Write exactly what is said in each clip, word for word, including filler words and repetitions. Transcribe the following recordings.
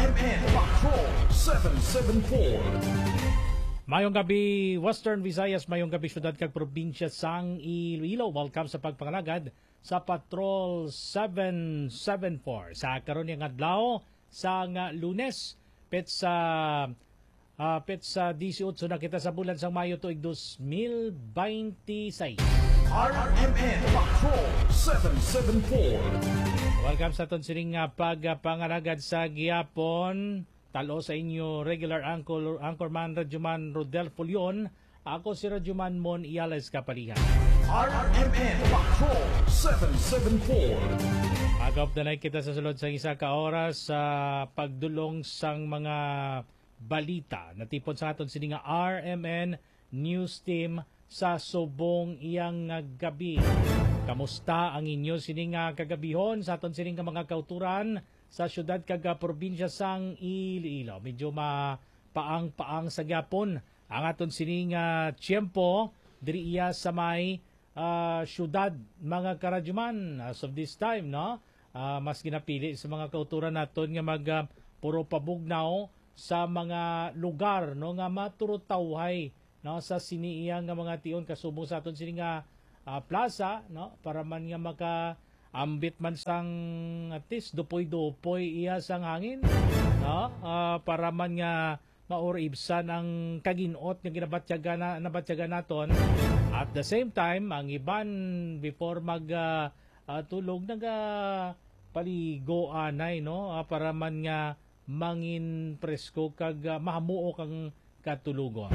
M N Patrol seven seven four. Mayong gabi, Western Visayas. Mayong gabi, syudad kag probinsya sang Iloilo. Welcome sa pagpangalagad sa Patrol seven seven four. Sa karon nga adlaw, sang, ah, Lunes, petsa, ah, petsa disiotso na kita sa bulan sang Mayo tuig dos mil bente seis. R M N Patrol seven seven four. Welcome sa aton sining, ah, pagpangalagad sa gihapon. Talo sa inyo regular anchor, anchorman, Radyoman Rodel Fulion. Ako si Radyoman Mon Iales Kapalihan. R M N Patrol seven seven four. Agop na kita sa sulod sang isa ka oras sa pagdulong sang mga balita. Natipon sa aton sini nga R M N News Team sa subong iyang nga gabi. Kamusta ang inyo sini nga kagabihon sa aton sini nga mga kauturan sa syudad kag, ah, probinsya sang Iloilo? Medyo mapaang-paang sa gyapon ang aton sini nga tiyempo diri iya sa may, ah, syudad, mga karadyoman, as of this time, no? Ah, mas ginapili sa mga kauturan naton nga mag, ah, puro pabugnaw sa mga lugar, no, nga maturutawhay, no, sa sini iya nga mga tion kasubong sa aton sini nga, ah, plaza, no, para man nga makaambit man sang at least dupoy-dupoy iya sang hangin, no, ah, para man nga mauribsan ang kaginot nga ginabatyagan na, nabatyagan naton. At the same time, ang iban before mag, ah, ah, tulog, naga paligo anay, no? Ah, para man nga mangin presko kag, ah, mahamuok ang katulogon.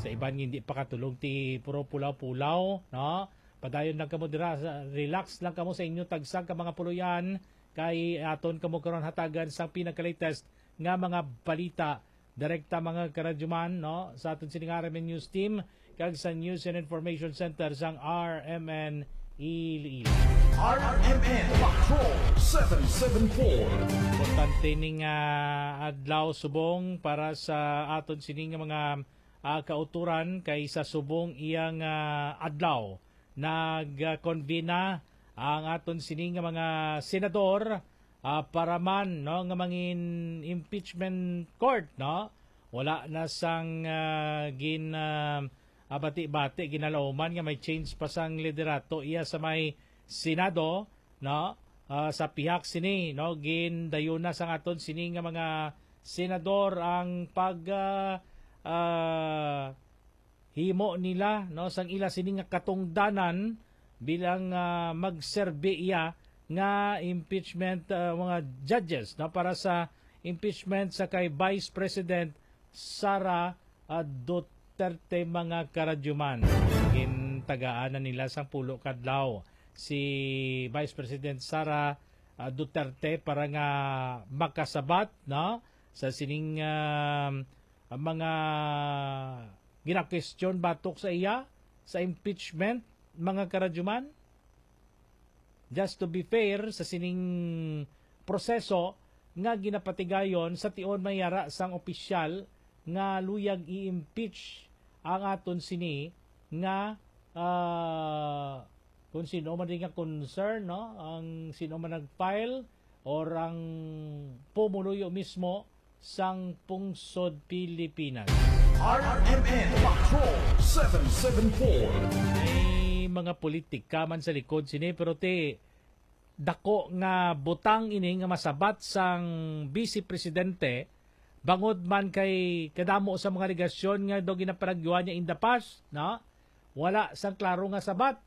Sa iban nga hindi pa katulog, ti puro pulaw-pulaw, no? Padayon lang kamo dira, sa, relax lang kamo sa inyo tagsa ka mga puloy-an, kay aton kamo karon hatagan sang pinaka-latest nga mga balita direkta, mga karadyoman, no, sa aton sining R M N News Team kag sa News and Information Center sang R M N Iloilo. R M N Patrol seven seven four. Importante ning, ah, adlaw subong para sa aton sini nga mga, ah, kauturan, kay sa subong iyang, ah, adlaw nag-convene na ang aton sini nga mga senador, ah, para man, no, nga mangin impeachment court, no? Wala na sang, ah, gin, ah, ah, bati-bati, ginalauman nga may change pa sang liderato iya sa may Senado, no? Ah, sa pihak sini, no, gindayon na sang aton sini nga mga senador ang pag, ah, ah, himo nila, no, sang ila sini nga katungdanan bilang, ah, magserbi iya nga impeachment, ah, mga judges, no, para sa impeachment sa kay Vice President Sara, ah, Duterte, mga karadyoman. Gintagaan na nila sang pulo ka adlaw si Vice President Sara, ah, Duterte para nga makasabat, no, sa sining, ah, mga ginakwestiyon batok sa iya sa impeachment, mga karadyoman. Just to be fair, sa sining proseso nga ginapatigayon, sa tion may yara sang opisyal nga luyag i-impeach ang aton sini nga, ah, kung sino man din nga concern, no? Ang sino man nag-file or ang pumuluyo mismo sang pungsod Pilipinas. R M N Patrol seven seven four. May mga politika man sa likod sini, pero ti dako nga butang ini nga masabat sang Vice Presidente, bangod man kay kadamo sa mga alegasyon nga daw ginapanagyuhan niya in the past, no? Wala sang klaro nga sabat.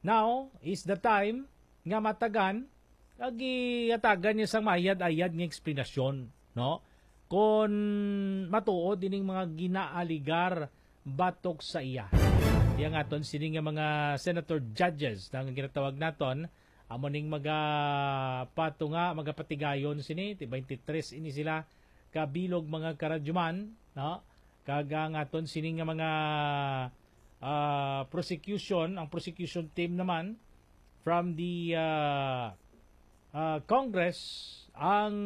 Now is the time nga matagan kag gihatagan niya sang mayad-ayad nga eksplanasyon, no? Kon matuod ining mga ginaaligar batok sa iya. Iya nga aton sini nga mga senator judges na nga ginatawag naton, amo ning magapatunga, magapatigayon sini, ti twenty-three ini sila kabilog, mga karadyoman, no? Kag ang aton sini nga mga, ah, prosecution, ang prosecution team naman from the, ah, ah, Congress ang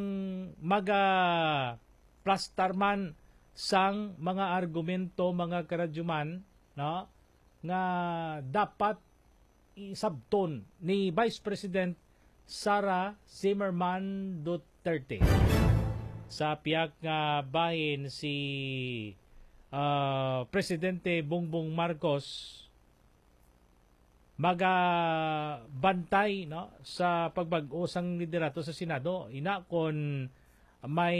magaplastar man sang mga argumento, mga karadyoman, no, nga dapat isabton ni Vice President Sara Zimmerman Duterte. Sa pihak nga bahin, si, ah, Presidente Bongbong Marcos magabantay, no, sa pagbag-o sang liderato sa Senado. Ina kon may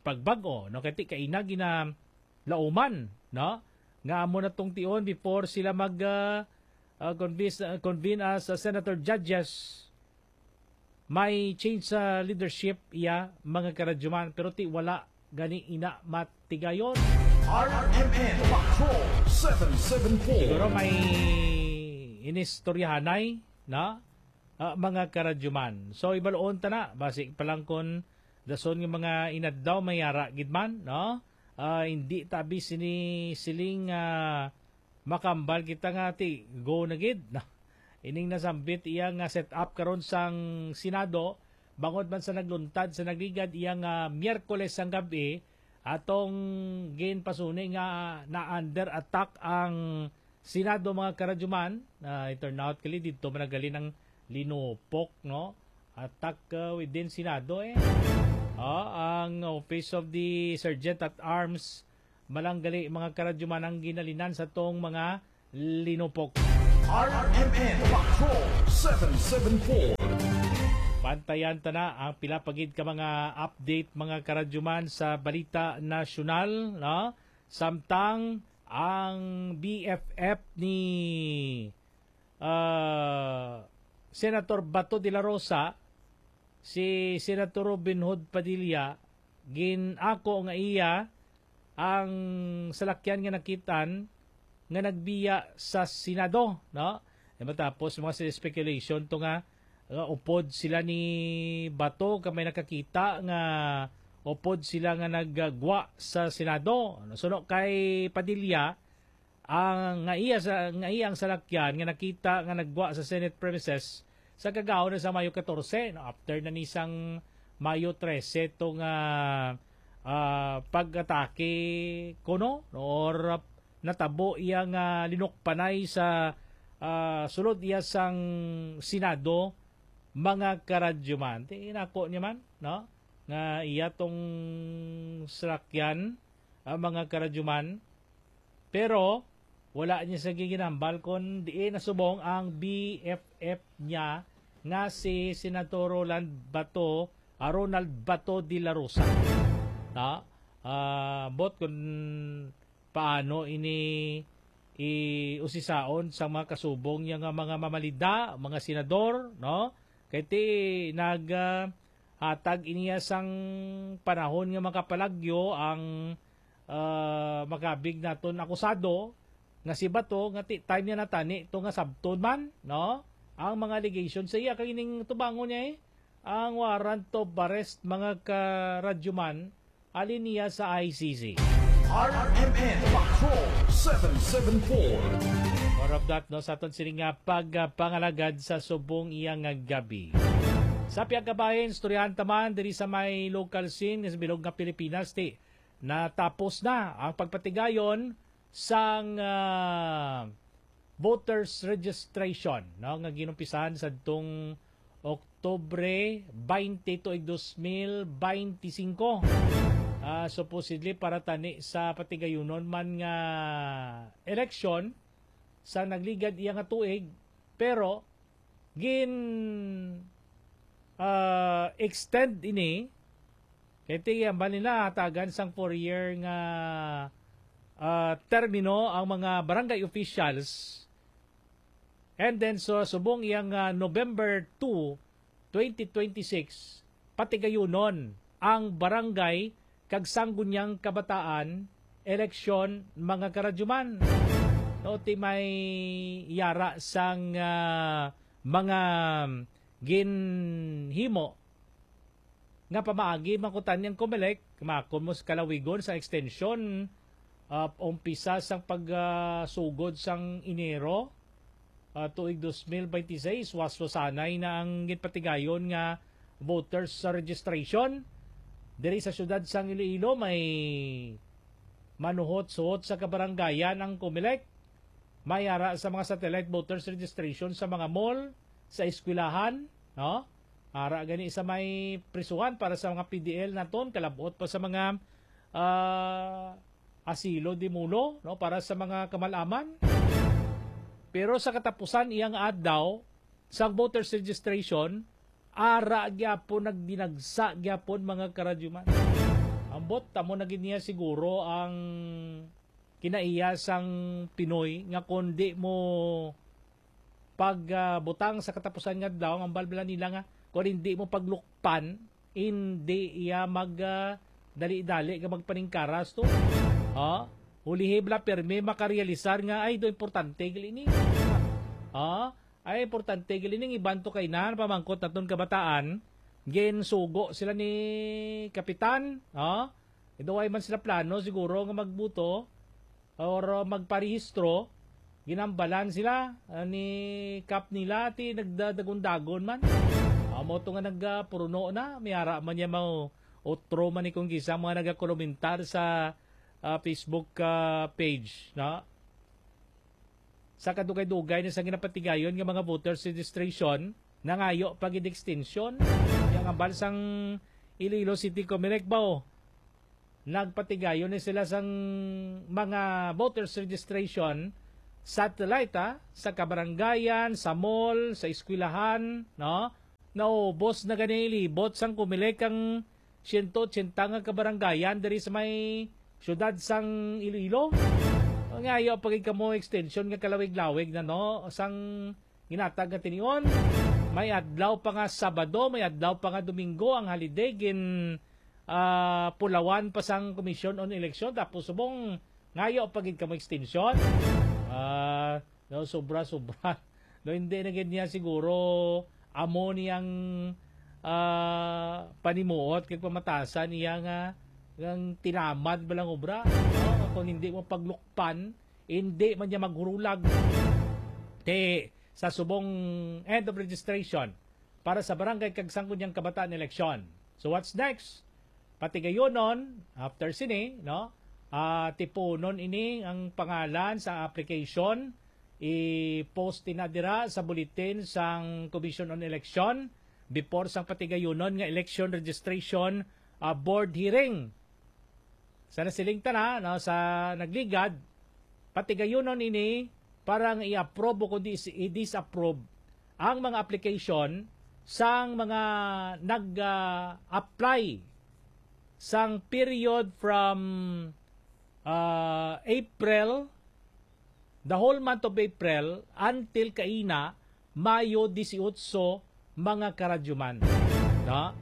pagbag-o, no, kay ti kaina ginalauman, no, nga amo na tong tion before sila mag, ah, ah, convince, ah, convene as, ah, senator judges. May change sa leadership iya, mga karadyoman, pero ti wala gani ina matigayon. R M N Patrol seven seven four. Siguro may inistoryahanay, no? Ah, mga karadyoman. So, ibaluon ta na, basi pa lang kon dason nga mga inadlaw, may ara gid man, no? Ah, hindi tabi sini siling, ah, makambal kita nga ti go na gid, no? Ining nasambit iya nga set up karon sang Senado, bangod man sa nagluntad sa nagligad iya nga Miyerkules sang gab-i, atong ginpasuni nga na under attack ang Senado, mga karadyoman. Ah, it turn out kali didto man naghalin ang linupok, no? Attack, uh, within Senado, eh. Oh, ang Office of the Sergeant at Arms, malanggali, mga karadyoman, ang ginhalinan sa tong mga linupok. R M N Patrol seven seven four. Bantayan ta na ang pila pa gid ka mga update, mga karadyoman, sa balita nasyonal, no? Samtang ang B F F ni, ah, Senator Bato de la Rosa, si Senator Robin Hood Padilla, gin-ako nga iya ang salakyan nga nakitaan nga nagbiya sa Senado, no? E matapos mga speculation to nga, nga upod sila ni Bato, kay may nakakita nga upod sila nga naggwa sa Senado. Suno kay Padilla, ang nga iya sa, nga iya ang salakyan nga nakita nga naggwa sa Senate premises sa kagahom na sa Mayo katorse, no? After na ni sang Mayo trese to nga, ah, pag-atake kuno, no? Or natabo iya nga linukpanay sa, ah, sulod iya sang Senado, mga karadyoman. Ti inako niya man, no? Nga iya tong salakyan, ah, mga karadyoman. Pero wala niya sa ginambal kon diin nasubong ang B F F niya nga si Senator Roland Bato, ah, Ronald Bato de la Rosa. Ta, ah, ambot kon paano ini iusisaon sa mga kasubong niya nga mga mamalida, mga senador, no? Kay ti nag, ah, hatag iniya sang panahon nga makapalagyo ang, ah, makabig naton akusado nga si Bato, nga ti time niya natani to nga sabton man, no? Ang mga allegation sa iya kay ining tubangon niya, eh, ang warrant of arrest, mga karadyoman, halin niya sa I C C. R M N Patrol seven seven four. More of that, no, sa aton sini nga pagpangalagad sa subong iya nga gabi. Sa pihak kabahin, istoryahan ta man diri sa may local scene nga sa bilog nga Pilipinas, ti natapos na ang pagpatigayon sang, ah, voters registration, no, nga ginumpisahan sadtong Oktubre twenty tuig dos mil beinti singko. Ah, supposedly para tani sa patigayunon man nga eleksyon sa nagligad iya nga tuig, pero gin, ah, extend ini kay ti hambal nila hatagan sang four-year nga, ah, termino ang mga barangay officials. And then, so, subong iyang, ah, November two, twenty twenty-six, patigayunon ang barangay kag sangguniang kabataan eleksyon, mga karadyoman. No, ti may yara sang, ah, mga ginhimo nga pamaagi man kuno ni ang Comelec, makon mo sa kalawigon sa extension, ah, umpisa sang pag, ah, sugod sang Enero, ah, tuig dos mil beintiseis, waswasanay na ang ginpatigayon nga voters sa registration. Diri sa siyudad sang Iloilo, may manuhot-suhot sa kabaranggayan ang Comelec. May ara sa mga satellite voters registration sa mga mall, sa eskwelahan, no? Ara gani sa may prisuhan para sa mga P D L naton, kalabot pa sa mga, ah, asilo di mulo, no, para sa mga kamalaman. Pero sa katapusan iyang adlaw sa voters registration, ara gyapon nagdinagsa gyapon, mga karadyuman. Ambot, tamo na gid niya siguro ang kinaiya sang Pinoy nga kung di mo pag, ah, butang sa katapusan nga adlaw, ang balbala nila nga kung hindi mo paglukpan, hindi iya mag, ah, dali-dali nga magpaningkaras to. Ha? Ulihi bala pirmi makarealisar nga, ay, do importante gali ni. Ha? Ay, importante gali ning iban to kay na pamangkot naton kabataan. Ginsugo sila ni Kapitan, ha? Ido way man sila plano siguro nga magbuto or magparehistro, ginambalan sila, ah, ni Kap nila, ti nagdadagon-dagon man. Amo to nga nagpuruno na, may ara man niya mao utro man ni kung kisa mga nagakomentar sa, ah, Facebook, ah, page, no? Sa kadugay-dugay na sa ginapatigayon nga mga voters registration, nangayo pa gid extension. Yang ambal sang Iloilo City Comelec ba, oh? Nagpatigayon ni sila sang mga voters registration satellite, ah, sa kabarangayan, sa mall, sa eskwelahan, no? Naubos na gani libot sang Comelec ang siyento otsenta nga kabarangayan diri sa may siyudad sang Iloilo. Ngayo pa gid kamo extension nga kalawig-lawig na, no, sang ginatag nga tinion. May adlaw pa nga Sabado, may adlaw pa nga Domingo ang holiday, gin, ah, pulawan pa sang Commission on Election, tapos subong ngayo pa gid kamo extension. Ah, no, sobra-sobra. No, hindi na gid niya siguro amo niyang, ah, panimuot kag pamatasan niya nga, nga tinamad ba lang obra. No? Kung hindi mo paglukpan, hindi man niya maghurulag. Te, sa subong end of registration para sa barangay kag sangguniang kabataan eleksyon. So what's next? Patigayonon, after sini, no? Ah, tipunon ini ang pangalan sa application, i-post ina dira sa bulletin sang Commission on Election before sang patigayonon nga election registration, ah, board hearing. Sa nasiling tana, no, sa nagligad, patigayunon ini para nga i-approve o kundi is-, i-disapprove ang mga application sang mga nag, ah, apply sang period from, ah, April, the whole month of April until kaina, Mayo dieciocho, mga karadyuman. No?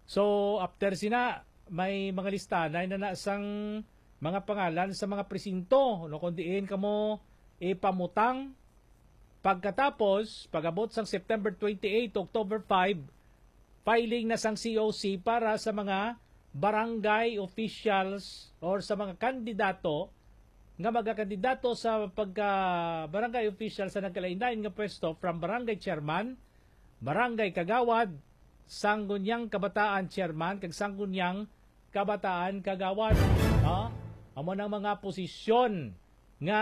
So, after sina, may mga listahan na na sang mga pangalan sa mga presinto, no, kung diin kamo ipamutang. Pagkatapos, pag-abot sang September twenty-eight to October five, filing na sang C O C para sa mga barangay officials or sa mga kandidato nga magakandidato sa pagka barangay official sa nagkalain-lain nga pwesto, from barangay chairman, barangay kagawad, sangguniang kabataan chairman, kag sangguniang kabataan kagawad. No? Amo nang mga posisyon nga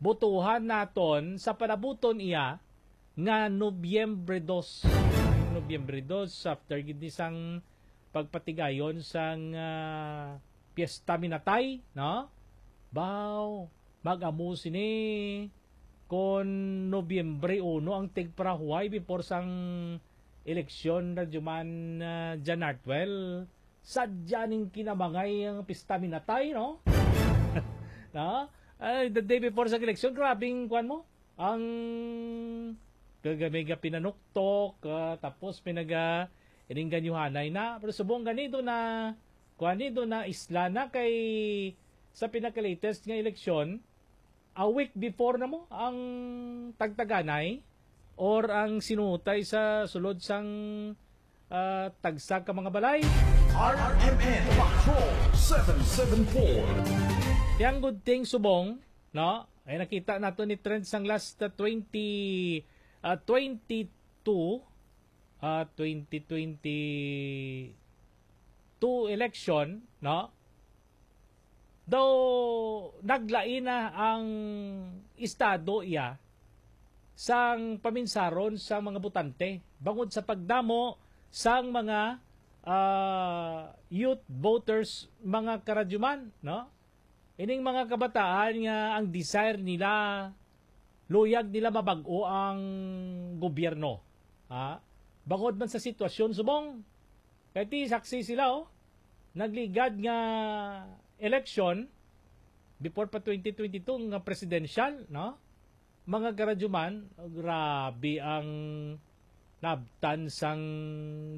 botohan naton sa panabuton iya nga Nobyembre dos. Nobyembre dos, after gid ni sang pagpatigayon sang, ah, Piyesta Minatay, no? Baw, mag-amo sini kon Nobyembre uno ang tigparahuway before sang eleksyon, Radyo Man, ah, Jan Artwell. Sadya ning kinamangay ang Pista Minatay, no? No? Ay, the day before sa eleksyon, grabing, kuwan mo, ang gagamay nga pinanuktok, ah, tapos pinaga-, ininganyuhanay na. Pero subong ganido na, kuwan, nido na isla na kay sa pinaka-latest nga eleksyon, a week before na mo ang tagtaganay or ang sinutay sa sulod sang, ah, tagsa ka mga balay. R M N Patrol seven seven four. Yang good thing subong, no? Ay nakita nato ni trend sang last, ah, twenty, ah, twenty-two, ah, twenty twenty-two election, no? Daw naglain na ang estado iya sang paminsaron sa mga botante. bangod sa pagdamo sang mga, ah, youth voters, mga karadyuman, no? Ining mga kabataan nga ang desire nila, luyag nila mabag-o ang gobyerno. Ha? Bangod man sa sitwasyon subong, kay ti saksi sila, oh, nagligad nga election before pa twenty twenty-two nga presidential, no? Mga karadyuman, grabe ang nabtan sang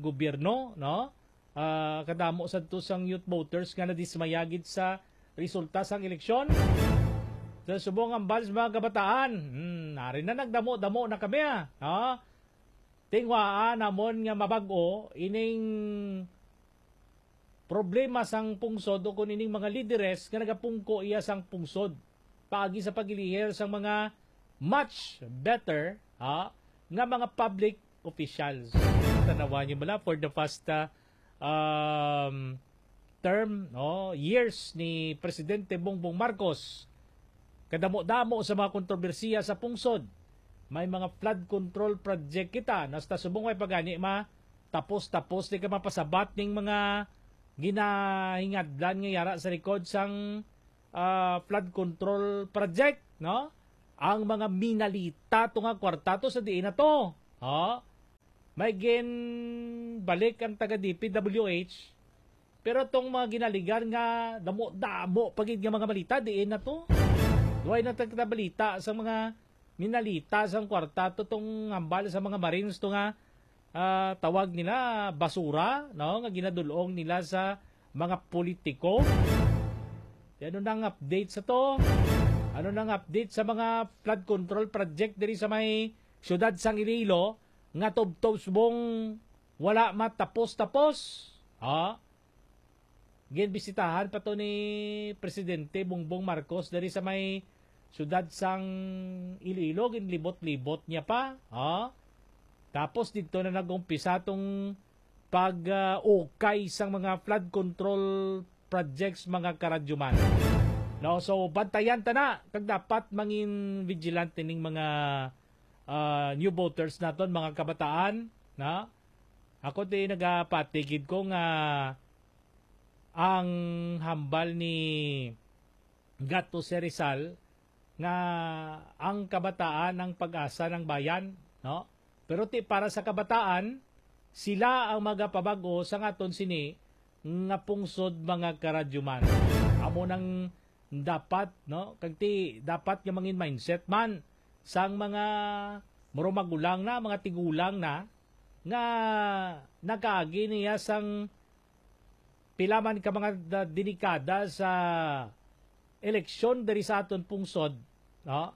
gobyerno, no? Ah, kadamo sa to sang youth voters nga nadismaya gid sa resulta sang eleksyon. Sa subong ambal sa mga kabataan, hmm, nari na nagdamo-damo na kami, ah. Ha? Tingwaa namon nga mabag-o ining problema sang pungsod o kun ining mga lideres nga nagapungko iya sang pungsod paagi sa pag-elihir sang mga much better, ha, nga mga public officials. Tanawan niyo bala for the past, ah, um, term, no, years ni Presidente Bongbong Marcos, kadamo-damo sa mga kontrobersiya sa pungsod. May mga flood control project kita, nasta subong way pagani ma tapos-tapos di ka mapasabat ning mga ginahingadlan nga yara sa likod sang, ah, flood control project, no? Ang mga minalita to nga kwarta to sa diin na to, ha? May ginbalik ang taga D P W H, pero tong mga ginaligan nga damo-damo pa gid nga mga malita, diin na to? Why na tagta balita sa mga minalita sang kwarta to tong hambal sa mga Marines to nga, ah, tawag nila basura, no, nga ginadulong nila sa mga politiko. Di ano nang update sa to? Ano nang update sa mga flood control project diri sa may siyudad sang Iloilo nga tubtob subong wala matapos-tapos? Ha? Ginbisitahan pa to ni Presidente Bongbong Marcos diri sa may siyudad sang Iloilo, ginlibot-libot niya pa, ha? Tapos didto na nag-umpisa tong pag, ah, ukay sang mga flood control projects, mga karadyuman. No, so bantayan ta na kag dapat mangin vigilant ning mga, ah, new voters naton, mga kabataan, na ako di nagapatigid ko nga ang hambal ni Gato Serizal nga ang kabataan ang pag-asa ng bayan, no? Pero ti para sa kabataan, sila ang magapabag-o sa aton sini nga pungsod, mga karadyuman. Amo nang dapat, no? Kag ti dapat nga mangin mindset man sang mga muro magulang na, mga tigulang na nga nakaagi niya sang pila man ka mga da-, delikada sa eleksyon diri sa aton pungsod, no?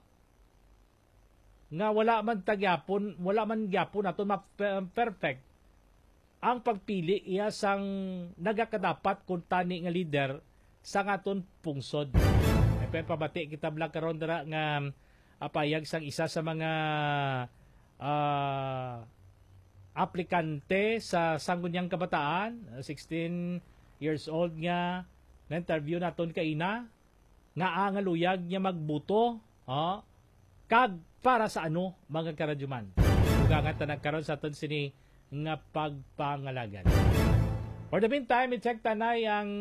Nga wala man ta gyapon, wala man gyapon naton ma-, perfect ang pagpili iya sang nagakadapat kuntani nga lider sang aton pungsod. May pabati kita bala karon dira nga, ah, payag sang isa sa mga, ah, aplikante sa Sangguniang Kabataan, sixteen years old nga na-interview naton kaina, nga ang luyag niya magbuto, ha? Kag para sa ano, mga karadyuman? Dugangan ta na karon sa aton sini nga pagpangalagad. For the meantime, i-check ta na ang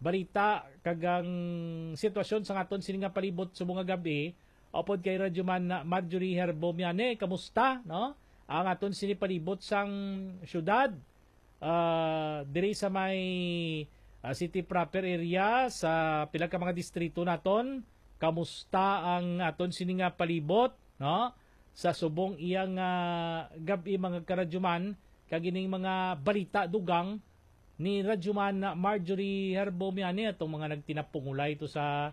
balita kag ang sitwasyon sa aton sini nga palibot subong nga gab-i. Upod kay Radyoman Marjorie Herbo Miane, kamusta, no? Ang aton sini palibot sang syudad, ah, diri sa may, ah, city proper area, sa pila ka mga distrito naton, kamusta ang aton sini nga palibot, no? Sa subong iya nga gab-i, mga karadyuman, kag ining mga balita dugang ni Radyoman Marjorie Herbo Miani, atong mga nagtinapungulay to sa,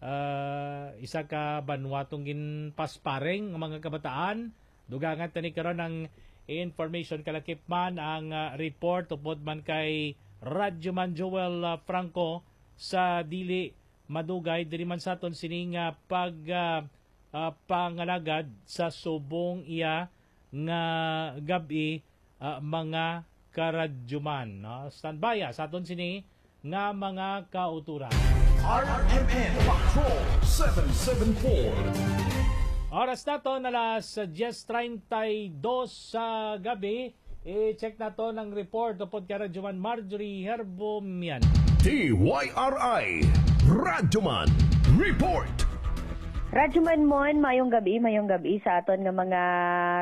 ah, isa ka banwa tong ginpasparing nga mga kabataan. Dugangan ta ni karon ang information, kalakip man ang, ah, report upod man kay Radyoman Joel, ah, Franco sa dili madugay diri man sa aton sini nga pag, ah, ah, pangalagad sa subong iya nga gab-i, ah, mga karadyuman, no? Standby, ah, sa aton sini nga mga kauturan. R M N Patrol seven seven four. Oras naton alas diyes treinta y dos sa gabi. I-check naton ang report upod kay Radyoman Marjorie Herbomian. D Y R I Radyoman Report. Radyoman Mon, mayong gabi, mayong gabi sa aton nga mga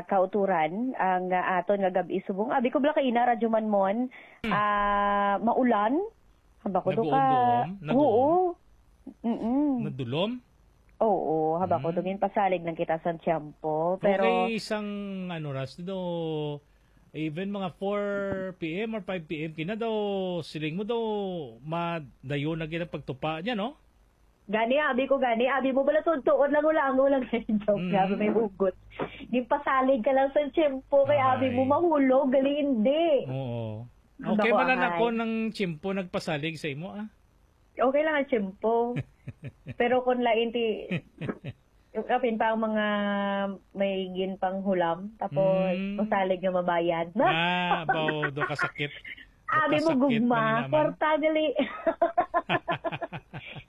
kauturan. Ang, ah, aton nga gabi subong. Abi ko bala kaina, Radyoman Mon, Hmm. ah, maulan. Haba ko do ka. Naguom-guom? Naguom? Oo. Mm-mm. Nadulom? Oo, haba ko do Hmm. ginpasalig lang kita sa tiyempo. Pero Okay, isang ano, Ras, do, even mga four P M or five P M, kina daw, siling mo daw, madayon na gina pagtupa niya, no? Gani, abi ko gani, abi mo bala tuod-tuod lang, wala ang ulang joke, Mm. grabe may hugot. Ginpasalig ka lang sa tiyempo, kay abi mo Ay. mahulog, gali hindi. Oo. Ang Okay man lang nakuhaan. Ako ng tiyempo nagpasalig sa imo, ah. Okay lang ang tiyempo. Pero kung lain ti, yung apin pa ang mga may ginpanghulam, tapos Mm. masalig nga mabayad. Ah, baw, do kasakit. Do Abi mo kasakit gugma, man naman. Kwarta gali.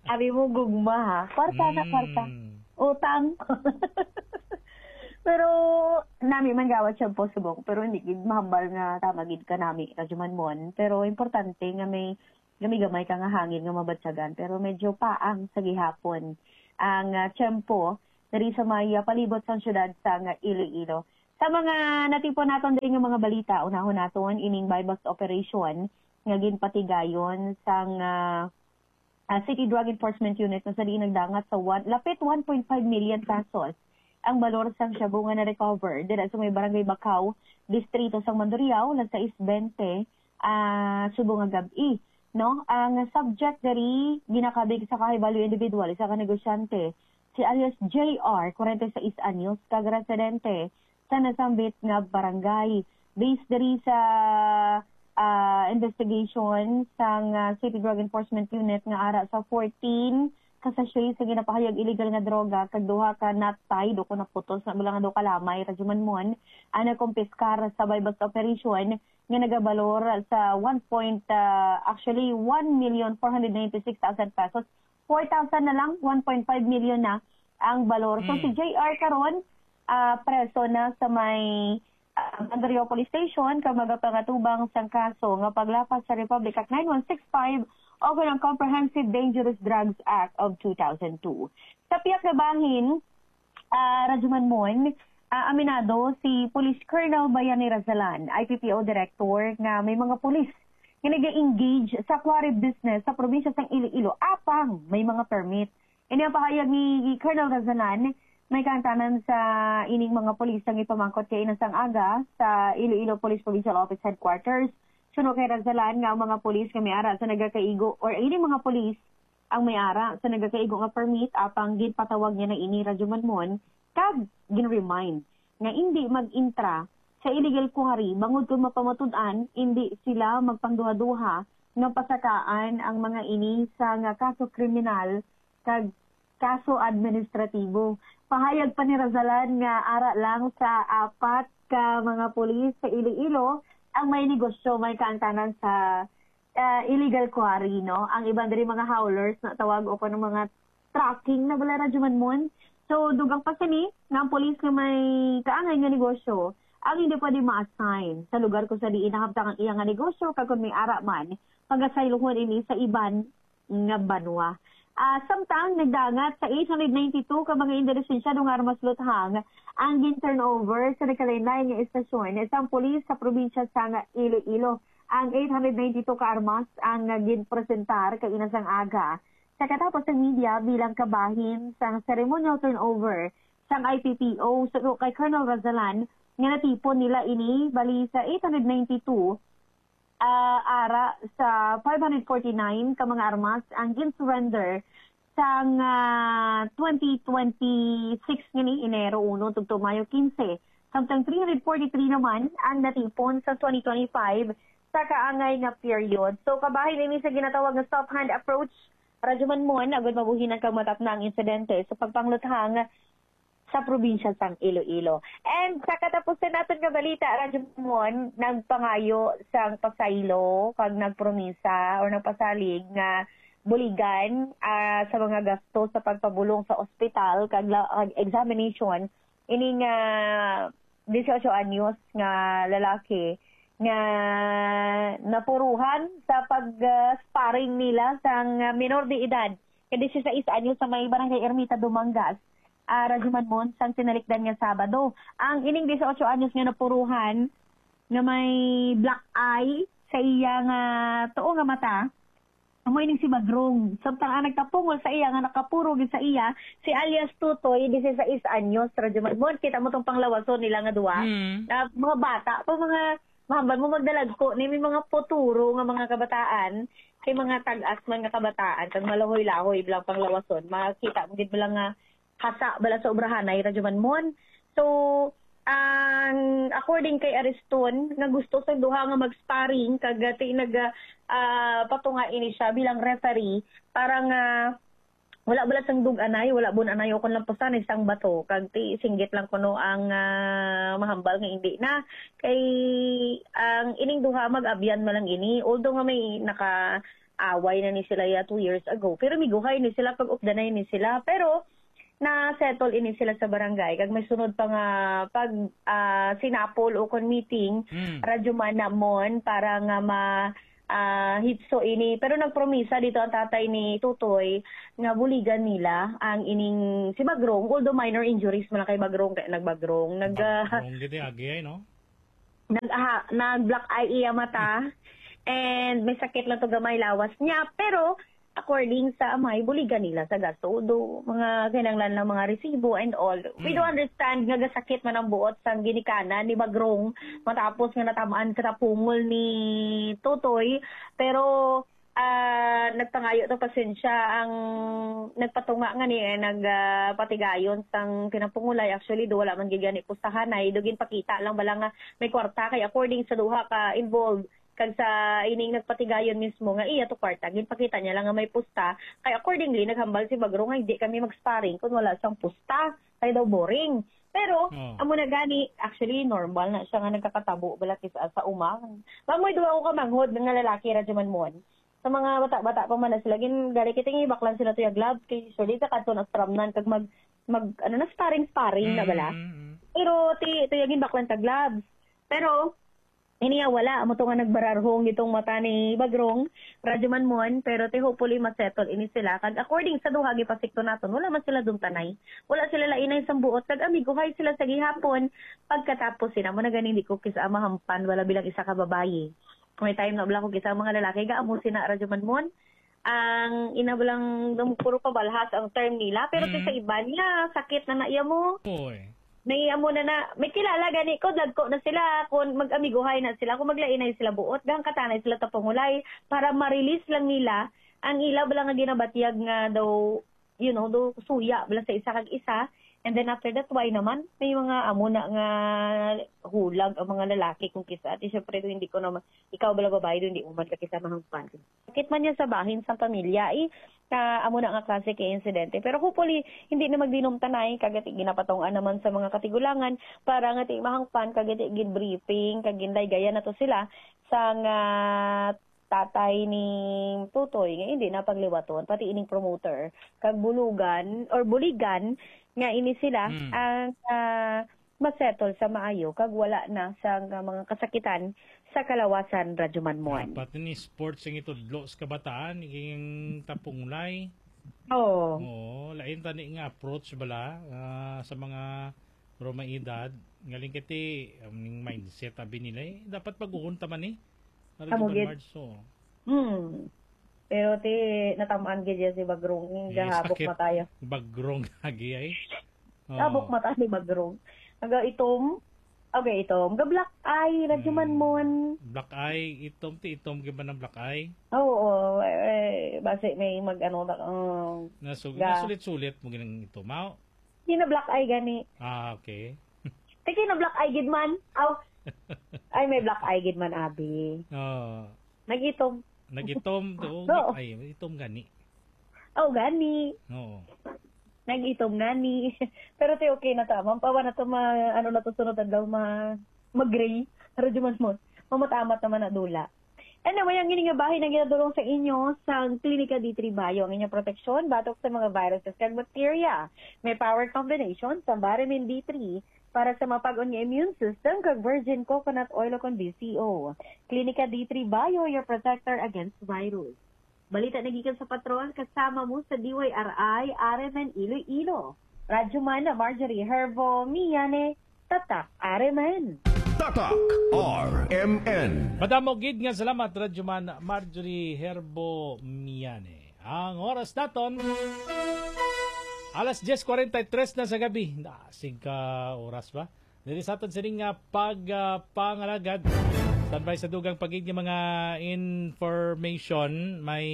Abi mo gugma, ha? Kwarta na, kwarta. Mm. Utang. Pero nami man gawat siya po subong, pero hindi gid mahambal nga tama gid ka nami, Radyo Manmon. Pero importante nga may gamay-gamay ka nga hangin nga mabatyagan, pero medyo paang sa gihapon ang, ah, tiyempo diri sa may, ah, palibot sang siyudad sang Iloilo. Sa mga natipon naton diri nga mga balita, unahon naton ining buy-bust operation nga ginpatigayon sang, ah, ah, City Drug Enforcement Unit, kung sa diin nagdangat sa one, lapit one point five million pesos ang balor sang shabu nga na-recover dira sa may Barangay Bacau, distrito sang Mandurriao, alas sais bente, ah, subong nga gab-i, no? Ang subject diri ginakabig sa kahibaluy individual, isa ka negosyante, si alias J R, kwarenta y seis anyos, kag residente sa nasambit nga barangay. Based diri sa, ah, investigation sang, ah, City Drug Enforcement Unit nga ara sa fourteen ka sachet sa ginapahayag illegal nga droga kag duha ka knot tied o kung naputos na bala nga daw kalamay, Radyo Manmon, ang nakumpiskar sa buy-bust operation nga nagabalor sa one point, ah, actually, one million four hundred ninety-six thousand pesos. Four thousand na lang, one point five million na ang balor. So, Mm. si J R karon, ah, preso na sa may, ah, Mandurriao Police Station kag magapangatubang sang kaso nga paglapas sa Republic Act nine one six five o kon ang Comprehensive Dangerous Drugs Act of two thousand two. Sa pihak nga bahin, ah, Radyo Manmon, ah, aminado si Police Colonel Bayani Razalan, I P P O Director, nga may mga pulis nga nag-engage sa quarry business sa probinsya sang Iloilo apang may mga permit. Ini ang pahayag ni Colonel Razalan, may kaangtanan sa ining mga pulis nga ipamangkot kay ina sang aga sa Iloilo Police Provincial Office Headquarters. Suno kay Razalan nga ang mga pulis nga may ara sa nagakaigo or ining mga pulis ang may ara sa nagakaigo nga permit apang ginpatawag niya na ini, Radyo Manmon, kag gin-remind nga indi mag-intra sa illegal quarry bangod kon mapamatud-an indi sila magpangduha-duha nga pasakaan ang mga ini sa nga kaso kriminal kag kaso administratibo. Pahayag pa ni Razalan nga ara lang sa apat ka mga pulis sa Iloilo ang may negosyo may kaangtanan sa, ah, illegal quarry, no? Ang iban diri mga howlers na tawag o kuno mga trucking na bala, Radyo Manmon. So, dugang pa sini nga ang pulis nga may kaangay nga negosyo ang hindi pwede ma-assign sa lugar kung sa diin nahabtang ang iya nga negosyo, kag kung may ara man, pag-asayluhon ini sa iban nga banwa. Ah, samtang nagdangat sa eight hundred ninety-two ka mga indi lisensyado nga armas luthang ang gin-turnover sa nagkalain-lain nga estasyon sang pulis sa probinsya sang Iloilo. Ang eight hundred ninety-two ka armas ang ginpresentar kaina sang aga sa katapos sang media bilang kabahin sang ceremonial turnover sang I P P O suno kay Colonel Razalan nga natipon nila ini bali sa eight hundred ninety-two ah, ara sa five hundred forty-nine ka mga armas ang gin-surrender sang, ah, twenty twenty-six ngani, Enero uno tubtob Mayo quince. Samtang three hundred forty-three naman ang natipon sa twenty twenty-five sa kaangay nga period. So, kabahin ini sa ginatawag nga soft hand approach, Radyo Manmon, agud mabuhinan kag matapna ang insidente sa pagpangluthang sa probinsya sang Iloilo. And sa katapusan naton nga balita, Radyo Mon, nagpangayo sang pasaylo kag nagpromisa or nagpasalig nga buligan, ah, sa mga gasto sa pagpabulong sa ospital kag la-, kag examination, ining, ah, dieciocho anyos nga lalaki nga napuruhan sa pag, ah, sparring nila sang, ah, minor de edad nga dieciséis anyos sa may Barangay Ermita, Dumangas, ah, Radyo Manmon, sang tinalikdan nga Sabado. Ang ining dieciocho anyos nga napuruhan nga may black eye sa iya nga tuo nga mata, amo ining si Bagrong. Samtang ang nagtapungol sa iya nga nakapuro gid sa iya, si alias Tutoy, dieciséis anyos, Radyo Manmon. Kita mo tong panglawason nila nga duha. Mm. Na mga bata pa, mga, mahambal mo, magdalagko ni, may mga puturo nga mga kabataan, kay mga tag-as man nga kabataan, kag malahoy-lahoy bilang panglawason. Makita mo gid bilang nga hasa bala sa obrahanay, Radyo Manmon. So, ang, according kay Ariston, nga gusto sa duha nga mag-sparring, kag, ah, ti-, nag, ah, ah, patunga ini siya bilang referee para nga wala bala sang dug-anay, wala bun-anay, o kon lampusan isang bato, kag ti singgit lang kuno ang, ah, mahambal nga indi na. Kay ang ining duha mag-abyan man lang ini, although nga may naka-away na ni sila ya two years ago, pero miguhay ni sila, pag-updanay ni sila. Pero na-settle ini sila sa barangay, kag may sunod pa nga pag, ah, sinapol o kon meeting, Mm. Radyo Manmon, para nga ma-, ah, hitso ini. Pero nagpromisa dito ang tatay ni Tutoy nga buligan nila ang ining si Bagrong, although minor injuries man lang kay Bagrong, kay nagbagrong, nag, ah, Bagrong gid agi ay, no? Nag-, aha, nag-black eye iya mata, and may sakit lang to gamay lawas niya. Pero, according sa amay, buligan nila sa gasto. Do, mga kinahanglan lang, mga resibo and all. We do Mm. understand nga gasakit man ang buot sang ginikanan ni Bagrong matapos nga natamaan sa tapungol ni Totoy. Pero, ah, nagpangayo to pasensya ang nagpatunga nga ni, eh, nag, ah, patigayon sang pinapungulay. Actually, do, wala man gid gani pustahanay. Do, ginpakita lang bala nga may kwarta. Kay according sa duha ka involved, kag sa ining nagpatigayon mismo nga iya to kwarta, ginpakita niya lang nga may pusta. Kay accordingly, naghambal si Bagrong nga hindi kami mag-sparring kung wala sang pusta. Kay daw boring. Pero, Oh. amo na gani, actually, normal na siya nga nagkakatabo bala kis-, sa uma. Mamoy duha ko ka manghod nga lalaki, Radyo Manmon. Sa mga bata-bata pa man na sila, gin-, gali kita nga ibaklan sila to ya gloves. Kay surely sa kadto na stramnan kag mag, mag, ano na, sparring-sparring na bala. Mm, mm, mm. Pero ti, to ya ginbaklan ta gloves. Pero, ini ya wala. Amo to nga nagbararhong itong mata ni Bagrong, Radyo Manmon. Pero ti hopefully masettle ini sila. Kag according sa duha, gipasikto naton, wala man sila dumtanay. Wala sila lainay sang buot. Kag amiguhay sila sa gihapon. Pagkatapos sina, mo na ganing di ko kis-, ah, mahampan, wala bilang isa ka babayi. May time na bala ko kis-, ang mga lalaki, gaamo sina, Radyo Manmon. Ang ina lang dum-, puro pabalhas ang term nila. Pero ti Mm. sa iba niya, sakit na na iya mo. Oy. May amo na na, may kilala gani ko, dagko na sila, kung mag-amiguhay na sila, kung maglainay sila buot, gahangkatanay sila tapungulay, para ma-release lang nila ang ila bala nga ginabatyag nga daw, you know, do suya bala sa isa kag isa. And then after that, why naman? May mga amo na nga hulag ang mga lalaki kung kisa. At syempre, do, hindi ko naman, ikaw bala babae, do, hindi mo man ka kisa mahangpan. Sakit man niya sa bahin sa pamilya, eh, ka amo na nga klase kay insidente. Pero hopefully, hindi na magdinumtanay, kag ati ginapatungan naman sa mga katigulangan para nga ti mahangpan, kag ati gin-briefing, kag gindaygayan na to sila sa nga tatay ni Tutoy nga hindi na pagliwaton, pati ining promoter, kag bulugan or buligan nga ini sila Mm. ang, ah, masettle sa maayo kag wala na sa nga mga kasakitan sa kalawasan, Radyo Manmon. Dapat ni sports ang itudlo sa kabataan, king tapungulay. Oo. Oo, lain tani nga approach bala, ah, sa mga pero may edad, ngaling kiti, um, ning mindset abi nila, eh, dapat baguhon ta man, eh. Para Amo di ba, gid. March, so. Hmm. Pero ti, natamaan gid yan si Bagrong, yung Yes, gahabok bakit mataya. Bagrong lagi, ay? Oo. Habok mata ni Bagrong. Naga itom. Okay, itom. Ga black eye, Radyo Hmm. Manmon. Black eye, itom, ti itom gid ba ng black eye? Oo, eh, basi may mag-ano na, um, Nasu-, ga- nasulit-sulit mo ginang itom, ah? Di na black eye gani. Ah, okay. Ti kay na black eye gid man. Aw. Ay, may black eye gid man, abi. Oo. Nag-itom. Nag-itom to. Oo. Ay, itom gani. Oh, gani. Oo. Nag-itom gani. Pero ti okay na ta. Mampawa na to, ma-, ano na to, sunod adlaw, ma-, mag-gray. Pero di man mo. Mamatamat naman na dula. Ano may ang ini nga bahin ang ginadulong sa inyo sang Klinika D three Bio, ang inyong proteksyon batok sa mga viruses kag bakterya. May power combination sa Vitamin D three para sa mapag-on nga immune system kag virgin coconut oil o kon V C O. Klinika D three Bio, your protector against virus. Balita na gikan sa patrol, kasama mo sa D Y R I, R M N Iloilo. Radyo Man Marjorie Herbo, Miyane, Tatak R M N. Tatak R M N. Madamo gid nga salamat, Radyo Man Marjorie Herbo Miane. Ang oras naton, alas diyes kwarenta y tres na sa gabi. Nasig ka oras ba? Diri sa aton sining nga pag ah, pangalagad. Standby sa dugang pagid nga mga information. May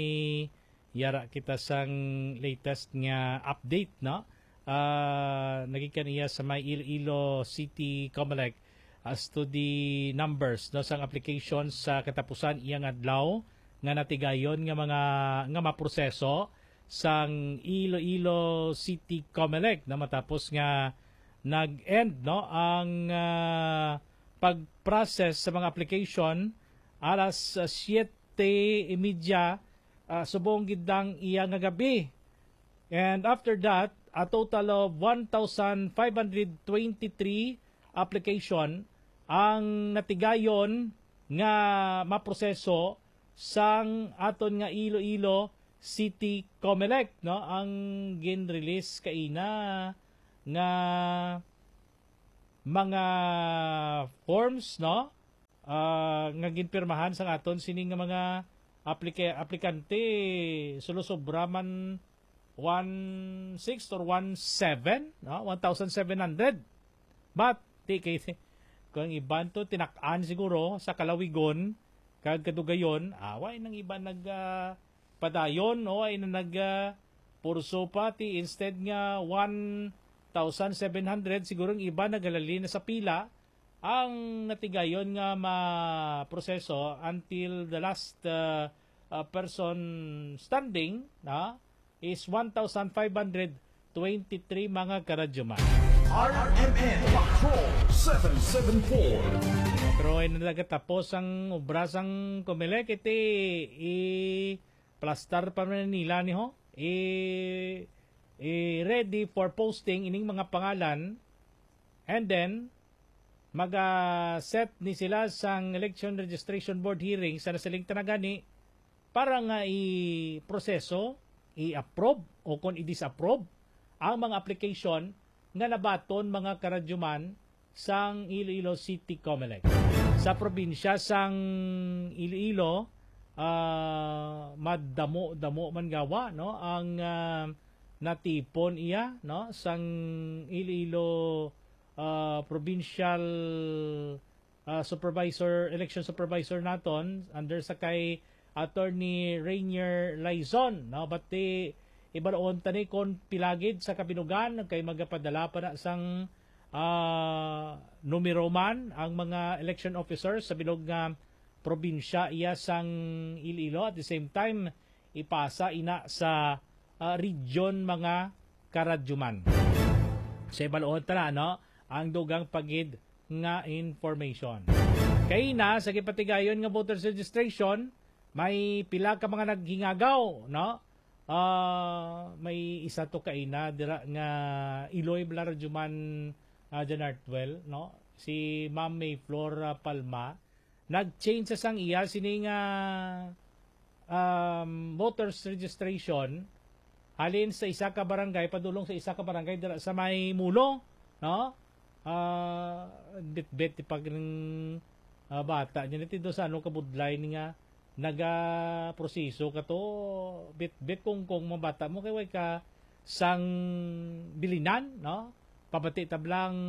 yara kita sang latest nga update, no? Ah, nagikan iya sa may Iloilo City Comelec as to the numbers, no, sang application sa katapusan iyang adlaw nga natigayon nga mga nga maproseso sang Iloilo City Comelec na matapos nga nag-end, no, ang ah, pag-process sa mga application alas ah, siyete y media ah, subong gid ang iya nga gabi. And after that, a total of one thousand five hundred twenty-three application ang natigayon nga maproseso sang aton nga Iloilo City Comelec, no, ang gin-release kaina nga mga forms, no, ah, nga ginpirmahan sang aton sini nga mga aplike-, aplikante, sulosobra man one six or one seven, no? One thousand seven hundred. But, di kay, kung iban to, tinak-an siguro sa kalawigon, kag kadugayon, away nang iban nag, ah, padayon, no? Ay na nag, ah, purso pa, ti instead nga one thousand seven hundred, siguro ang iba nagalali na sa pila, ang natigayon nga maproseso until the last uh, uh, person standing na is one thousand five hundred twenty-three mga karadyoman. R M N Patrol seven seven four. Pero ay nagatapos ang obra sang Comelec, iti i-plastar pa man nila ni ho. I, i ready for posting ining mga pangalan. And then, maga-set ni sila sang election registration board hearing sa nasiling tanagani para nga i-proseso, i-approve o kon i-disapprove ang mga application nga nabaton mga karadyuman sang Iloilo City Comelec. Sa probinsya sang Iloilo, ah, madamo-damo man gawa, no, ang ah, natipon iya, no, sang Iloilo ah, provincial ah, supervisor, election supervisor naton under sa kay Attorney Rainier Laizon, no? But ti ibaroon ta ni kon pila gid sa kabinugan kay magapadala pa na sang ah, numero man ang mga election officers sa bilog nga probinsya iya sang Iloilo. At the same time, ipasa ina sa ah, region mga karadyuman. Sa ibaluon ta na, no, ang dugang pagid nga information. Kay na sa gipatigayon nga voters registration, may pila ka mga naghingagaw, no? Ah, may isa to kaina dira nga Iloy Blarjuman uh, Janartwell, no? Si Ma'am May Flor ah, Palma nag-change sa sang iya sini nga um, voters registration halin sa isa ka barangay padulong sa isa ka barangay dira sa may Mulo, no? Ah, bitbit ti pag ah, bata niya niti do sa ano kabudlay ni nga naga proseso ka to, bitbit kung kung mabata mo kay way ka sang bilinan, no? Pabati tablang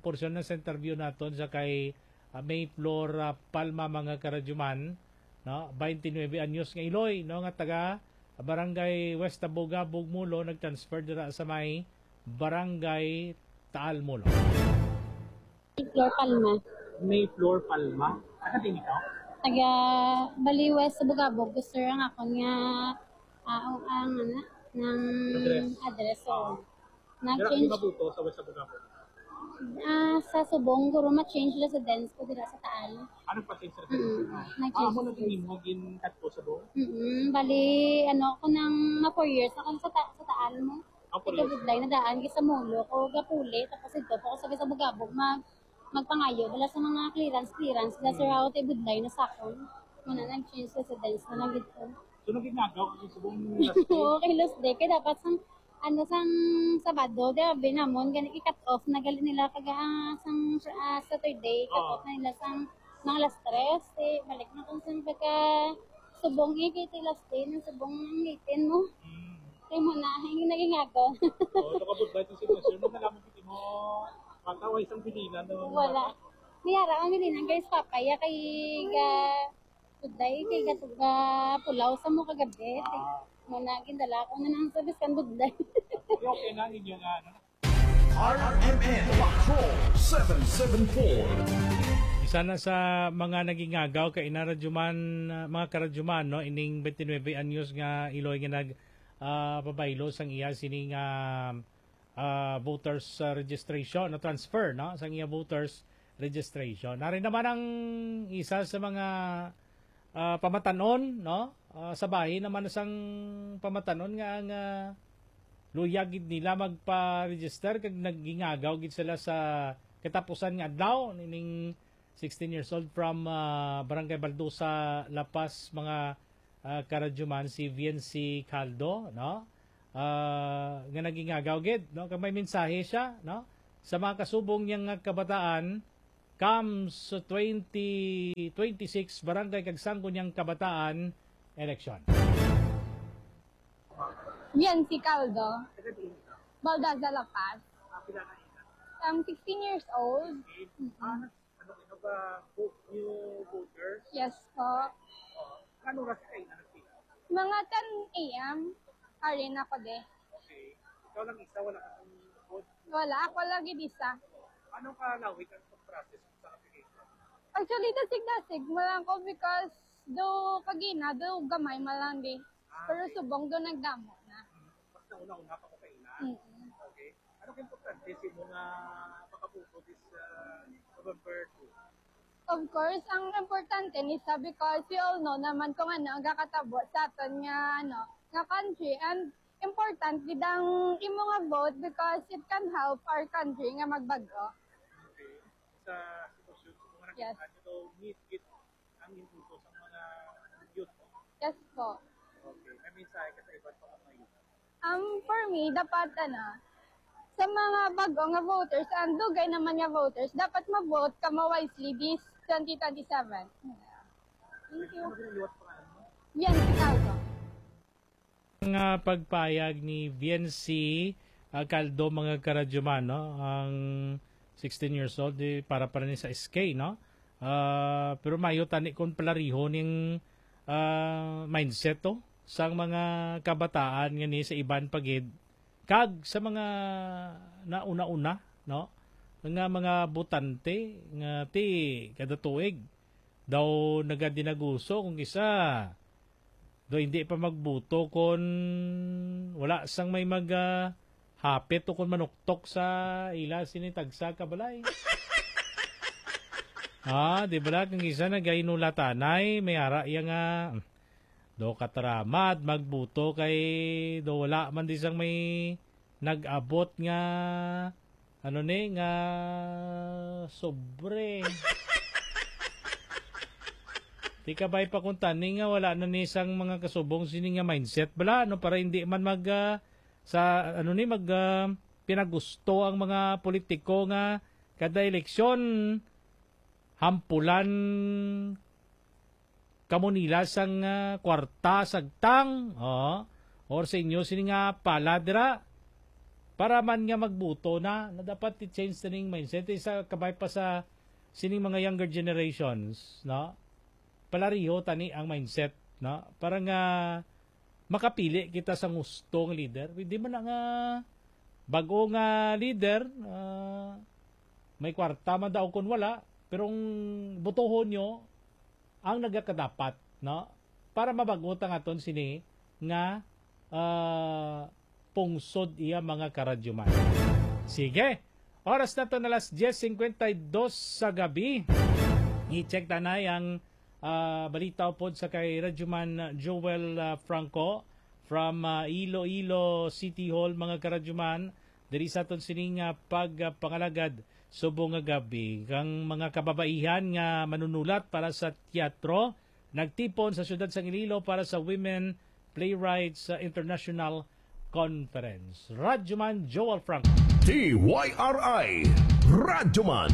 porsyon na sa interview naton sa kay ah, May Flor ah, Palma mga karadyuman, no? Twenty-nine anyos nga Iloy, no, nga taga Barangay West Abogabog, Mulo, nag-transfer dira sa may Barangay Taal, Mulo. Flor Palma. May Flor Palma. Taga din ikaw? Taga Bali West Abogabog, sir, ang akon nga ah, ang ano, ng Address. address. So, Dira nag-change. Mabuto sa West Abogabog. Ah, sa subong, guro, ma-change residence ko dira sa Taal. Ano pa change sa Mm, residence mo? Ah, nag-change amo na residence. Din mo gin-cut ko sa buong? Mm, bali, ano, ako nang ma four years ako sa Ta-, sa Taal mo. Ah, four years. Ika-budlay na daan, kay sa Molo ko gapuli, tapos ito pa ako sa, sa Bugabog, mag-, magpangayo, wala sa mga clearance, clearance, dahil sa Mm. route, eh, budlay na sa akon. Muna, nag-change residence na lang dito. So, naging nagaw ka sa buong last day? Oo, kay last day, kay dapat sang, ano, sang Sabado, di ba, binamon, gani i-cut off na gali nila, kag, ah, sang, ah, Saturday, cut Oo. off na nila sang mga alas tres, eh, balik na kung sang pagka subong, eh, kay ti last day ng subong ng ngipin mo. Mm. Kay mo na, hindi naging ako. Oo, nakabot ba itong sitwasyon mo? Nalaman ko mo, bata o isang bilina na Wala. Niyara ang bilina, guys, papaya, kay ga-, Budlay, kay gatuga pulaw sa mo kagabi. Ah. Mo na, gindala ko na lang sa biskan budlay. Okay, okay na ninyo nga, ano? R M N Patrol seven seven four. Isa na sa mga nagingagaw kay ina radyoman, ah, mga karadyoman, no, ining twenty-nine anyos nga iloy nga nag, ah, pabaylo sang iya sining, ah, ah, voters, ah, registration, na transfer, no, sang iya voters registration. Nari naman ang isa sa mga, ah, pamatanon, no? Ah, sa bahin naman sang pamatanon nga ang, ah, luyag gid nila magpa-register kag nagingagaw gid sila sa katapusan nga adlaw nining sixteen years old from, ah, Barangay Baldosa, La Paz, mga, ah, karadyoman, si Viency Caldo, no? Ah, nga nagingagaw gid, no? Kag may mensahe siya, no? Sa mga kasubong niya nga kabataan, comes twenty twenty-six Barangay kag Sangguniang Kabataan Election. Viency Caldo, Baldaza, La Paz. I'm sixteen years old. Mm-mm. Ano, ano ba, vo-, new voters? Yes po. Oo. Ano oras kayo na nagpila? Mga ten A M, ari na ko de. Okay. Ikaw lang isa, wala ka pang vote? Wala, ako lagi isa. Ano ka lawig ang process sa application? Actually, dasig-dasig mo lang ko because do kagina, do gamay mo lang di. Ah, pero okay. Subong do nagdamo na. Mm. Mas nauna-una pa ko kaina. Mm-mm. Okay. Ano ka importante sa imo nga makabuto this, uh, November two? Of course, ang importante ni sa because we all know naman kung ano ang gakatabo sa aton nga, ano, nga country, and important gid ang imo nga vote because it can help our country nga magbag-o. Okay. Sa sitwasyon sa mga Yes. Nakita nyo, need gid ang impulso sa mga youth, no? Yes po. Okay. May mensahe ka sa iban pa mga youth? Um, for me, dapat, ano, sa mga bago nga voters and dugay naman nga voters, dapat ma-vote ka mo wisely this twenty twenty-seven. Thank you. Ano ginaliwat pangalan mo? Yan, si Caldo. Nga pagpayag ni Viency, ah, Caldo, mga karadyoman, no? Ang sixteen years old, di, para pa rin sa S K, no? Ah, pero mayo tani kung palariho ning, ah, mindset to sang mga kabataan nga ni sa iban pa gid kag sa mga nauna-una, no? Nga mga botante nga ti kada tuig daw nagadinaguso kung kisa do hindi pa magbuto kon wala sang may mag, ah, hapit o kon manuktok sa ila sini tagsa ka balay. Ah, di bala kung kisa nagainulatanay, may ara iya nga, do kataramad magbuto kay do wala man di sang may nag-abot nga, ano ni, nga sobre. Di ka ba'y pakunta ni nga wala na ni sang mga kasubong sini nga mindset bala, no, para hindi man mag, ah, sa, ano ni, mag, ah, pinagusto ang mga politiko nga kada eleksyon hampulan kamo nila sang, ah, kwarta sagtang, oh, or sa inyo sini nga pala dira, para man nga magbuto na, na dapat i-change na ning mindset. Isa kabay pa sa sining mga younger generations, no? Palariho tani ang mindset, no? Para nga makapili kita sa gusto nga leader. Di man na nga bag-o nga leader, ah, may kwarta man daw kun wala, pero ang botohon nyo ang nagakadapat, no? Para mabag-o ta nga aton sini nga, ah, pungsod iya mga karadyoman. Sige, Oras na to na alas diyes singkwenta y dos sa gabi. I-check tanay ang, ah, balita upod sa kay Radyoman Joel, ah, Franco from, ah, Iloilo City Hall, mga karadyoman, diri sa aton sining, ah, pagpangalagad subong nga gabi kang mga kababaihan nga manunulat para sa teatro nagtipon sa siyudad sang Iloilo para sa Women Playwrights, ah, International Conference. Radyoman Joel Franco. T Y R I, Radyoman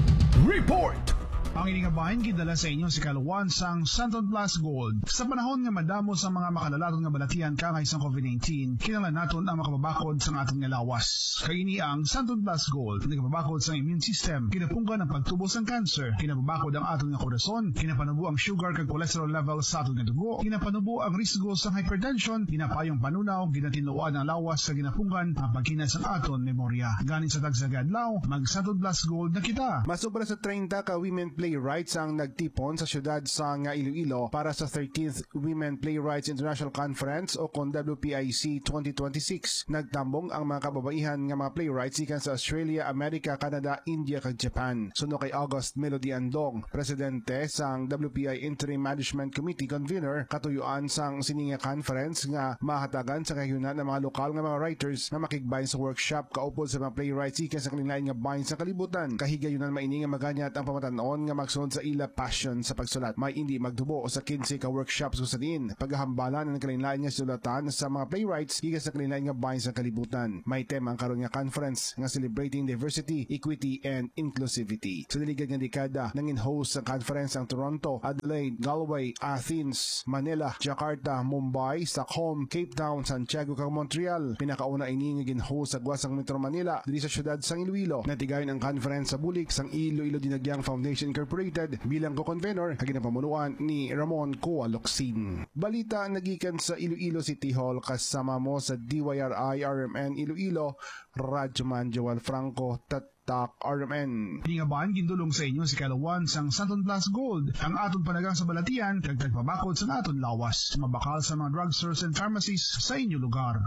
Report. Ang ini nga bahin gidala sa inyo sa kaluwan sang Santon Plus Gold. Sa panahon nga madamo sa mga makalalaton nga balatian kaangay sang covid nineteen, kinahanglan naton ang makapabakod sang aton nga lawas. Kay ini ang Santon Plus Gold, nagapabakod sang immune system, ginapunggan ang pagtubo sang cancer, ginapabakod ang aton nga korason, ginapanubo ang sugar kag cholesterol level sa aton nga dugo, ginapanubo ang risgo sang hypertension, ginapaayo ang panunaw, ginatinluan ang lawas, kag ginapunggan ang pagkina sang aton memorya. Gani sa tagsa ka adlaw, mag Santon Plus Gold na kita. Mas sobra sa treinta ka women playwrights ang nagtipon sa siyudad sang Iloilo para sa thirteenth Women Playwrights International Conference o kon W P I C twenty twenty-six. Nagtambong ang mga kababaihan nga mga playwrights gikan sa Australia, America, Canada, India, kag Japan. Suno kay August Melody Andong, presidente sang W P I Interim Management Committee convener, katuyuan sang sini nga conference nga mahatagan sa kahiunan ang mga lokal nga mga writers nga makigbahin sa workshop kaupod sa mga playwrights gikan sa kalilain nga bahin sa kalibutan. Kahigayunan man ini nga maganyat ang pamatan-on nga magsunod sa ila passion sa pagsulat. May indi magtubo sa kinse ka workshops kung sa diin pagahambalan ang kalain-lain nga sulatan sa mga playwrights gikan sa kalain-lain nga bahin sa kalibutan. May tema ang karon nga conference nga Celebrating Diversity, Equity, and Inclusivity. Sa naligad nga dekada, nangin-host sa conference ang Toronto, Adelaide, Galway, Athens, Manila, Jakarta, Mumbai, Stockholm, Cape Town, Santiago, kag Montreal. Pinakauna ini nga gin-host sa gwa sang Metro Manila, diri sa siyudad sang Iloilo. Natigayon ang conference sa bulig sang Iloilo Dinagyang Foundation Incorporated bilang co-convenor nga ginapamunuan ni Ramon Coa Locsin. Balita nagikan sa Iloilo City Hall, kasama mo sa D Y R I R M N Iloilo, Radyoman Joel Franco, Tatak R M N. Ini nga bahin gindulong sa inyo sa kaluwan sang Santon Plus Gold, ang aton panagang sa balatian kag tagpabakod sa aton lawas. Mabakal sa mga drugstores and pharmacies sa inyo lugar.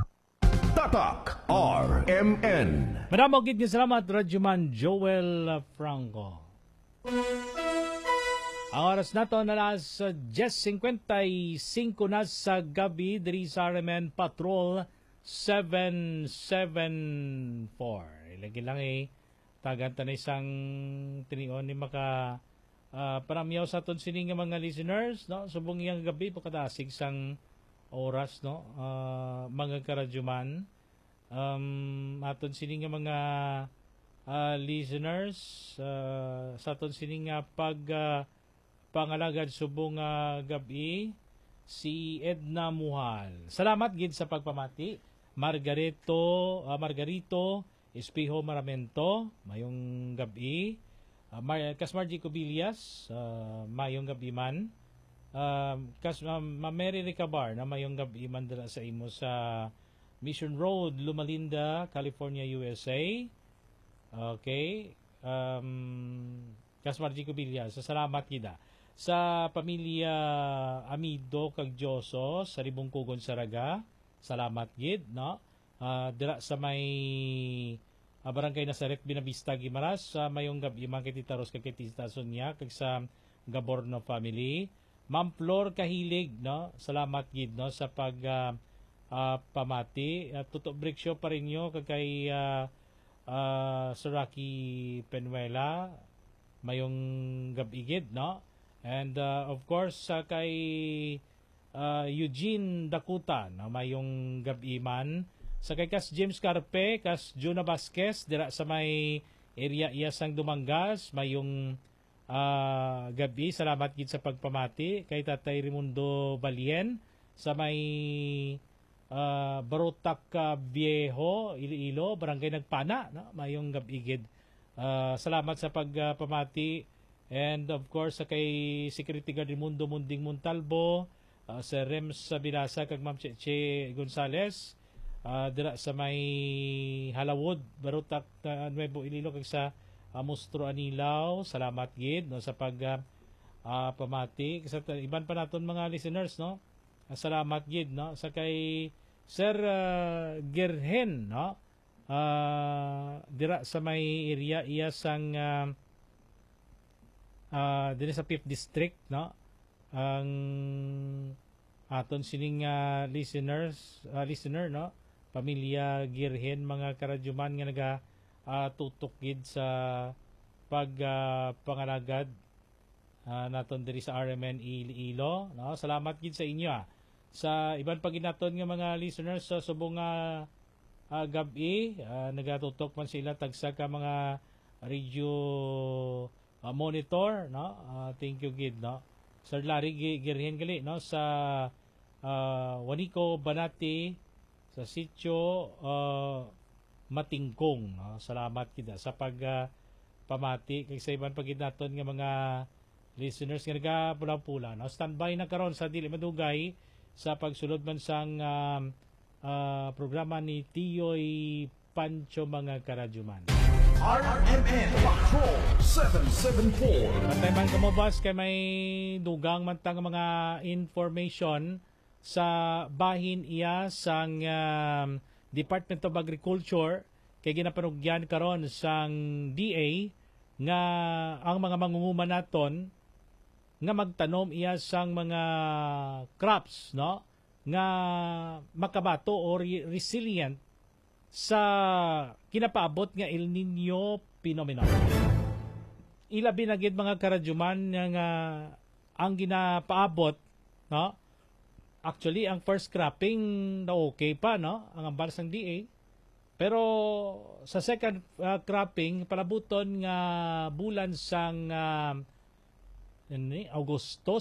Tatak R M N. Madamo gid nga salamat, Radyoman Joel Franco. Ang oras nato na alas diyes singkwenta y singko na sa gabi diri sa R M N Patrol seven seven four. Ilagi lang eh. Tagan ta na isang tinion ni maka, ah, panamyaw sa aton sini nga mga listeners, no? Subong iyang gabi, pagkadasig sang oras, no? Ah, mga karadyoman, um, aton sini nga mga, ah, listeners, ah, sa aton sini nga pag, ah, pangalagad subong nga gabi, si Edna Muhal. Salamat gid sa pagpamati. Margarito, ah, Margarito Espejo Maramento, mayong gabi. Ah, Mar-, Kasmar G. Cubillas, ah, mayong gabi man. Ah, Kas-, ah, Ma Mary Recabar, na mayong gabi man dira sa imo sa Mission Road, Loma Linda, California, U S A. Okay. Um, Kasmar G. Cubillas, sa salamat gid, ah. Sa pamilya Amido kag Dioso sa Ribungkugon, Saraga, salamat gid, no? Ah, dira sa may, ah, Barangay Nazaret, Buenavista, Guimaras, sa mayong gabi man kay Tita Ros kag kay Tita Sonia kag sa Gaborno family. Ma'am Flor Kahilig, no? Salamat gid, no, sa pag, ah, ah, pamati. At Tuto Brixio Parinyo kag kay, ah, ah, Sir Rocky Penuela, mayong gabi gid, no? And, ah, of course, sa kay, ah, Eugene Dakuta, no? Mayong gabi man. Sa kay kas James Carpe, kas Juna Vasquez, dira sa may area iya sang Dumangas, mayong, ah, gabi. Salamat gid sa pagpamati. Kay Tatay Raimundo Balien, sa may, ah, Barotac, ah, Viejo, Iloilo, Barangay Nagpana, no? Mayong gabi gid. Ah, salamat sa pag, ah, pamati. And of course, sa kay Security Guard Raimundo Munding Montalvo, ah, Sir Rems Bilasa kag Ma'am Cheche Gonzales, ah, dira sa may Halawod, Barotac, ah, Nuevo Iloilo, kag sa, ah, Mustro Anilao. Salamat gid, no, sa pag, ah, ah, pamati. Sa ta-, iban pa naton mga listeners, no? Ah, salamat gid, no? Sa kay Sir, ah, Gerhen, no? ah, dira sa may area iya sang, ah, ah, diri sa Fifth District, no? Ang aton sining, ah, listeners, ah, listener, no? Pamilya Girhen, mga karadyuman nga naga, ah, tutok gid sa pag, ah, pangalagad, ah, naton diri sa R M N Iloilo, no? Salamat gid sa inyo, ah. Sa iban pa gid naton nga mga listeners sa subong nga, ah, gab-i, ah, nagatutok man sila tagsa ka mga radio, ah, monitor, no? Ah, thank you gid, no? Sir Larry Gi-, Girhen gali, no, sa, ah, Juanico, Banati, sa sitio, ah, Matingkong, no? Salamat gid, ah, sa pag, ah, pamati kay sa iban pa gid naton nga mga listeners nga nagapula-pula, no? Standby na karon sa dili madugay sa pagsulod man sang, um, ah, programa ni Tiyoy Pancho, mga karadyuman. R M N Patrol seven seven four. Patay man kamo, boss, kay may dugang man tang mga information sa bahin iya sang, um, Department of Agriculture kay ginapanugyan karon sang D A nga ang mga mangunguman naton nga magtanom iya sang mga crops, no, nga makabato o re- resilient sa ginapaabot nga El Nino phenomenon. Ilabi na gid, mga karadyuman, nga, nga ang ginapaabot, no? Actually, ang first cropping na okay pa, no? Ang ambal sang D A. Pero sa second, ah, cropping, palabuton nga bulan sang, ah, ini, Agosto,